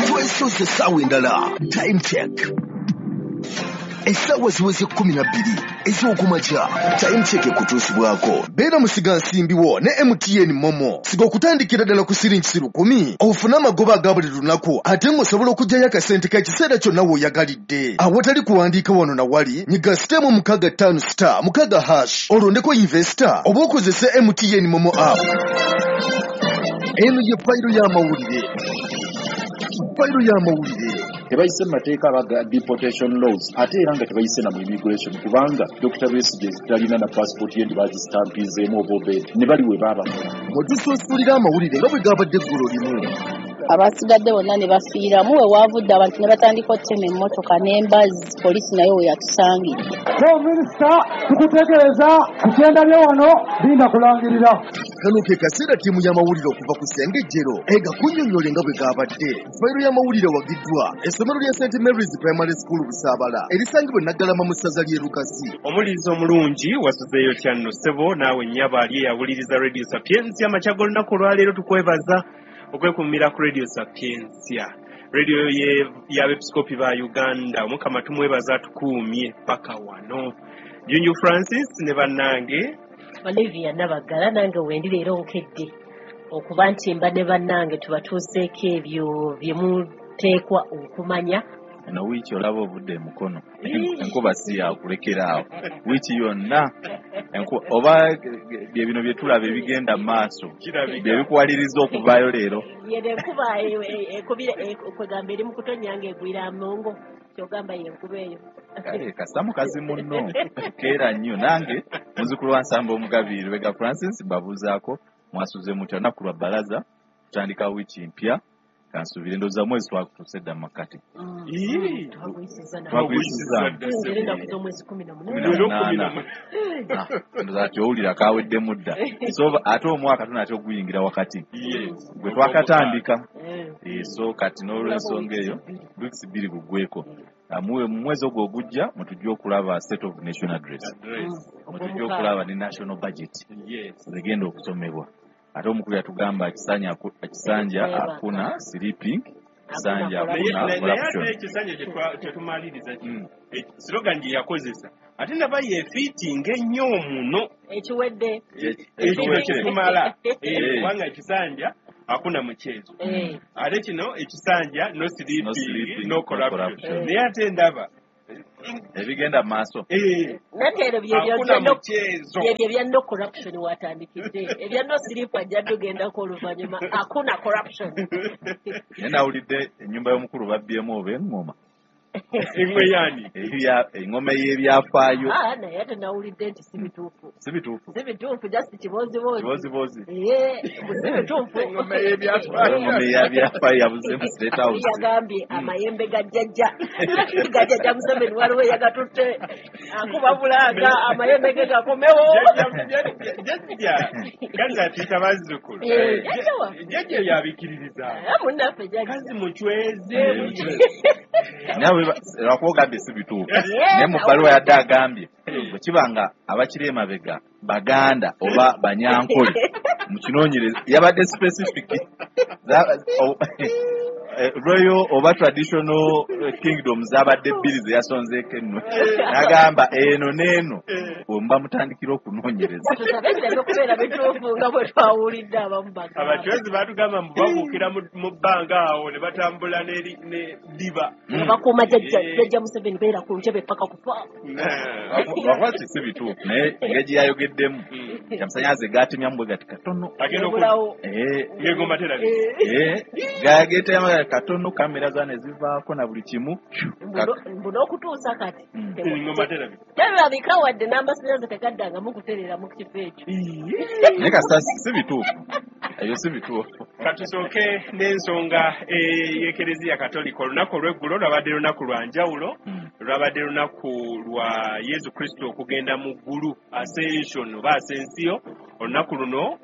Twesoose essaawa endala, time check. Essaawa ziweze 12 ez'okumakya. Time check ekutuusibwako beera musigansimbi wo ne MTN MoMo. Siga okutandikira ddala ku siringi 1,000 ofune amagoba aga buli lunaku, ate ng'osobola okuggyayo akasente k'ekiseera kyonna w'oyagalidde awatali kuwandiika wano na wali. Nyiga *656*6# olondeko investor oba okozese MTN MoMo app. Eno ye fayiro y'amawulire. Fayiro y'amawulire. Tebayise mu mateeka abaga deportation laws, ate era nga tebayise na mu immigration, kubanga Dr. Besigye talina na passport ye, nti bagistampizeemu oba obed ne bali we baabakola. Mwe tusuusulira amawulire nga bwe gabadde eggulo limu. Abasigadde bonna ne bafiiramu. We waavudde abantu ne batandika okutema emmotoka n'embazzi, poliisi nayo we yatusangidde. So minisita, tukutegeeza ku kyendabye wano, linda kulangirira. Kano ke kaseera ttiimu y'amawulire okuva ku Ssengejjero egakunnyonnyole nga bwe gabadde. Fayiro y'amawulire wagiddwa essomero lya St Mary's Primary School Busaabala, erisangibwa e Naggalama mu ssaza ly'e Lukasi. Omuwuliriza omulungi, wasuzeeyo kyanno ssebo naawe nnyabo ali eyawuliriza Radio Sapientia amakya g'olunaku olwaleero. Tukwebaza okwekuumira ku Radio Sapientia, radio y'abepiskopi ba Uganda. Omukama tumwebaza atukuumye paka wano. Junju Francis ne bannange Olivia Nabaggala, nange wendi leero nkedde okuba nti mba ne bannange tubatuuseeko ebyo bye muteekwa okumanya. Eno wiiki olaba obudde emukono, enkuba si yakulekera awo wiiki yonna. Oba bye bino bye tulaba ebigenda mu maaso bye bikuwaliriza okuvaayo leero? Yeno enkuba ekubira kwegamba eri mu kutonnya ng'egwira amongo, kyogamba yenkuba eyo. Kale kasita mukazi munno keera nnyo. Nange muzukulu wa Nsamba Omugabi Lubega Francis, mbabuuzaako mwasuze mutya? Olunaku lwa bbalaza, tutandika wiiki mpya. Kansuubire ndowooza mwezi twakutuuse dda mu makkati. Twaguyisiza. Twaguyisiza. Era ennaku z'omwezi 18. Leero 18. Ah, ndowooza kati owulira kaweddemu dda. So ate omwaka tunatera okuguyingira wakati gwe twakatandika. So kati n'olwensonga eyo weeks 2 gugweko. Ah, mu mwezi ogwo ogujja mutujja okulaba State of Nation Address, mutujja okulaba ne national budget zegenda okusomebwa. Ate omukulu yatugamba kisanja hakuna sleeping, kisanja Naye hakuna naye ate corruption. Ekisanja kyetumaliriza kino, slogan gye yakozesa ate naba yefiitinga ennyo muno. Ekiwedde. Ekino kitumala. Eh. Kubanga ekisanja hakuna mchezo, ate kino ekisanja no No sleeping, sleeping, no no corruption. corruption. Naye ate ndaba ebigenda mu maaso. Nateero Hakuna mchezo. Byebyo ebya no corruption watandikidde, ebya no sleep ajja tugendako oluvannyuma, hakuna corruption. Naye nawulidde ennyumba y'omukulu babbyemu oba eŋŋoma. Eŋŋwe yani? Eŋŋoma ey'ebyafaayo. Ah, naye ate nawulidde nti si bituufu. Si bituufu? Si bituufu, just kibooziboozi. Kibooziboozi. Ee, si bituufu. Eŋŋoma ey'ebyafaayo. Eŋŋoma ey'ebyafaayo yabuze mu State House. Yagambye amayembe ga jjajja, ga jjajja Museveni, waliwo eyagatutte akuba bulanga amayembe ge gakomewo. Jjajja kazi atuyita bazzukulu. Eh, jjajja waffe. Jjajja yabikiririza. Eh, munnaffe jjajja. Kazi mucweze. Nawe lwakuba ogambye si bituufu, naye mu bbaluwa yadde agambye bwe kiba nga abakiri emabega Baganda oba Banyankole mukinoonyereza, yabadde specific. Royal oba traditional kingdom zabadde bbiri ze yasonzeeko ennwe, n'agamba eno n'eno wemuba mutandikira okunoonyereza. Tusabe bireme okubeera bituufu nga bwe twawulidde abamu bagamba. Abacwezi batugamba mbu babuukira mu bbanga awo ne batambula ne ddiba. Nga bakuuma jjajja, jjajja Museveni beera ku ntebe paka kufa. Lwakuba ti si bituufu, naye engeri gye yayogeddemu kyamusanyaze gatemyamu bwe gati katono. Agenda Ebulawo. Ng'engoma terabise. Gagetemamu katono, kamera za ne zivaako na buli kimu. Mbu n'okutuusa kati Engoma terabise. terabika wadde n'amasannyalaze tegaddangamu kutereera mu kifo ekyo. Naye kasita si bituufu, ebyo si bituufu. Katusooke n'ensonga y'Ekereziya Katolika. Olunaku olw'eggulo lwabadde lunaku lwa njawulo. Lwabadde lunaku lwa Yesu Kristo okugenda mu ggulu, Ascension oba Ascension. Olunaku luno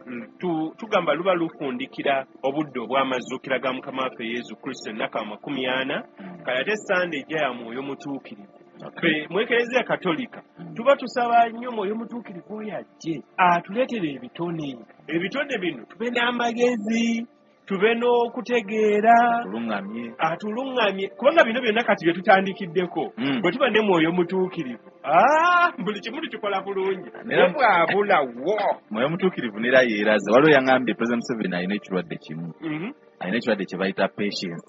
tugamba luba lufundikira obudde obw'amazuukira ga Mukama waffe Yesu Kristo, ennaku 40. Kale ate Sande ejja ya Mwoyo Mutuukirivu. Ffe mu Ekereziya Katolika tuba tusaba nnyo Mwoyo Mutuukirivu oyo ajje atuleetere ebitone, ebitone bino tube n'amagezi. Tube n'okutegeera. Atuluŋŋamye. Atuluŋŋamye, kubanga bino byonna kati bye tutandikiddeko, bwe tuba ne Mwoyo Mutuukirivu, buli kimu tukikola bulungi. Naye bwabulawo Mwoyo Mutuukirivu nera yeeraze. Waliwo yaŋŋambye President Museveni alina ekirwadde kimu, alina ekirwadde kye bayita patience.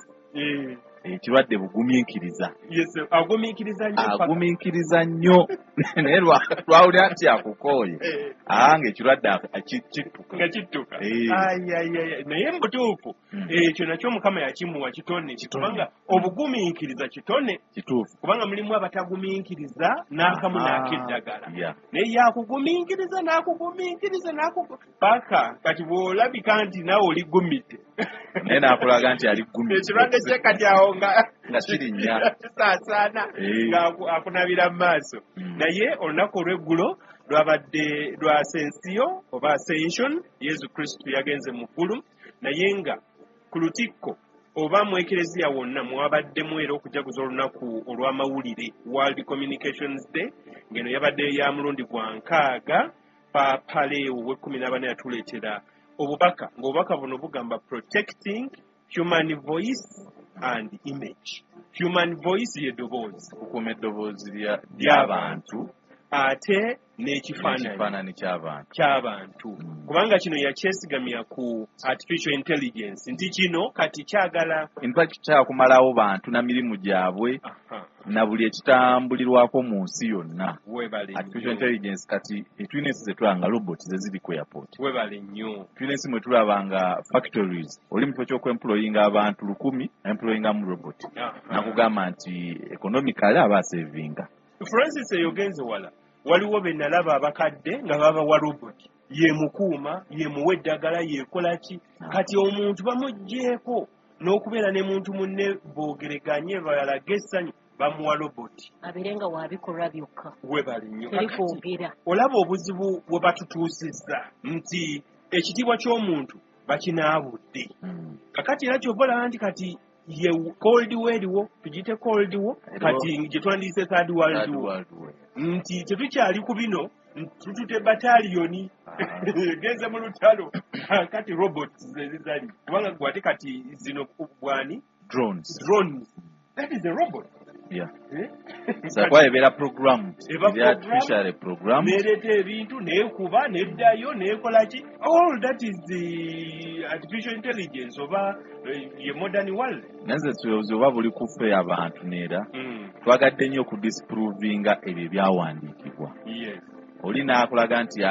Ekirwadde bugumiikiriza. Yes, agumiikiriza nnyo paka. Agumiikiriza nnyo, naye lwawulira nti akukooye, nga ekirwadde kittuka. Nga kittuka. Ai, ai, ai, ai. Naye mu butuufu, ekyo nakyo Mukama yakimuwa kitone, Kitone. kubanga obugumiikiriza kitone. Kubanga mulimu abatagumiikiriza n'akamu n'akeddagala. Naye yakugumiikiriza n'akugumiikiriza paka kati bw'olabika nti naawe oli gumidde. Naye n'akulaga nti ali gumidde. Ekirwadde kye kati awo nga Nga kirinnya. kisaasaana, nga akunabira mu maaso. Naye olunaku olw'eggulo lwabadde lwa Ascension oba Ascension, Yesu Kristo yagenze mu ggulu, naye nga ku lutikko oba mu ekereziya wonna mwabaddemu era okujaguza olunaku olw'amawulire, World Communications Day, ng'eno yabadde ya mulundi gwa 60. Paapa Leo ow'ekkumi n'abana yatuleetera obubaka, ng'obubaka buno bugamba protecting human voice and image. Human voice ye ddoboozi. Okukuuma eddoboozi ly'abantu, ate n'ekifaananyi. N'ekifaananyi ky'abantu. Ky'abantu. Kubanga kino yakyesigamya ku artificial intelligence, nti kino kati kyagala In fact, kyakumalawo bantu na mirimu gyabwe, na buli ekitambulirwako mu nsi yonna. Webale Artificial nnyo. intelligence kati tulina ensi ze tulaba nga robot ze ziri ku airport. Webale nnyo. Tulina ensi mwe tulaba nga factories, oli mu kifo ky'okwemployinga abantu 1000, employingamu robot. Nakugamba nti economically aba asevinga. Francis, eyo genze wala. Waliwo be nalaba abakadde nga babawa robot, yemukuuma, yemuwa eddagala, yekola ki. Kati omuntu bamuggyeeko n'okubeera ne muntu munne boogereganye balage essanyu, bamuwa robot. Abeere nga wabikolwa byokka. Webale nnyo. Teri Kakati kwogera. olaba obuzibu bwe batutuusizza nti ekitiibwa ky'omuntu bakinaabudde. Kakati era kyova olaba nti kati ye Cold War eriwo, tugiyite Cold War, Eriwo. kati gye twandiyise Third World Third War. World War. Nti tetukyali ku bino, tutute bataliyoni genze mu lutalo, kati robots ze zizali, kubanga gwe ate kati zino bwani Drones. Drones, that is a robot. So kwa ebeera programmed. Eba Eri artificially programmed. Nereeta ebintu, nekuba, neddayo, nekola ki. All that is the artificial intelligence oba ye modern world. Naye nze obuzibu oba buli ku ffe abantu neera twagadde nnyo okudisprovinga ebyo ebyawandiikibwa. Oli n'akulaga nti